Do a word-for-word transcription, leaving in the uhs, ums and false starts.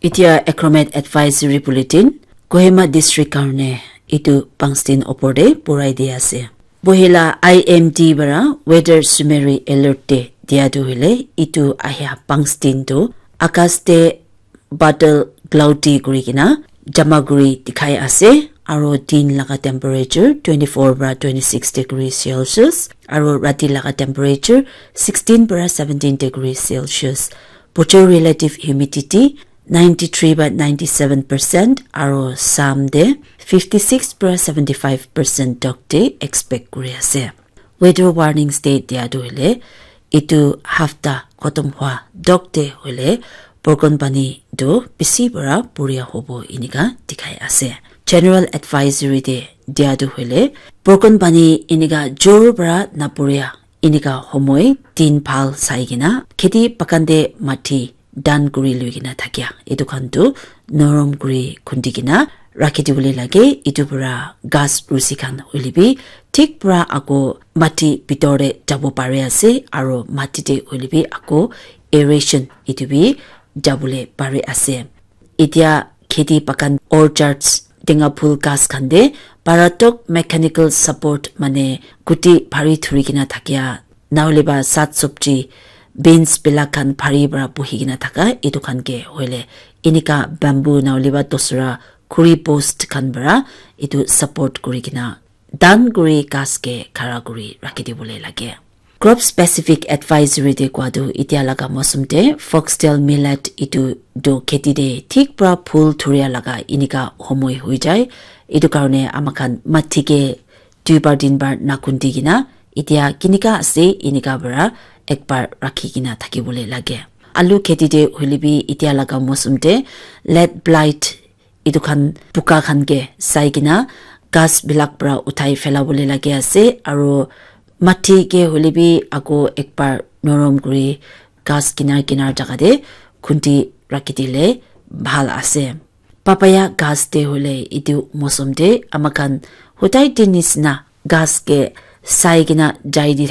Etia Achromat Advisory Bulletin, Kohima District karne itu pangstin opor te purai di ase. Bohila I M D bara weather summary alert te dia tu hile itu ahia pangstin tu akas te badal cloudy kuri kena jama kuri dikhai ase, aro din laga temperature twenty-four para twenty-six degree Celsius, aro rati laga temperature sixteen para seventeen degree Celsius. Bochor relative humidity ninety-three by ninety-seven percent, aro sam de fifty-six para seventy-five percent tok de expect kuri ase. Weather warning state dia tu hoile itu hafta khotom hua tok de hoile borkon pani tu bisi para puria hobo inika dikhai ase. General advisory de dia tu hoile borkon pani inika jor para napuria inika homoi din bhal sai kena kheti bagan de mati dan kuri lui kena thakia etu khan tu norom kuri khundi kena rakhi dibole lage. Etu para ghas rusi khan hoile bi thik para ako mati bitor te jabo pare ase aro mati te hoile bi ako aeration etu bi jabole pare ase. Etia kheti bagan orchards tenga phul ghas khan te paratok mechanical support mane guti bhari thuri kena thakia nahoile ba sat sobji beans bilak khan bhari para buhi kena thaka etu khan ke hoile enika bamboo nahoile ba dosra khuri post khan para etu support kuri kena dan kuri ghas ke khara kuri rakhi dibole lage. Crop specific advisory de kua tu etia laga mosum te foxtail millet etu tu kheti de thik para phul thuria laga inika homoi hui jai. Etu karne ama khan mati ke duibar tinbar nakhundi kena etia kinika ase inika para ekbar rakhi kena thakibole lage. Alu kheti te hoile bi etia laga mosum te leaf blight etu khan buka khan ke sai kena ghas bilak para uthai phelabole lage ase aro mati ke hoile bi ako ekbar norom kuri ghas kinar kinar jaga te khundi rakhi dile bhal ase. Papaya ghas te hoile etu mosum te ama khan hudai te nisna ghas ke sai kena jai di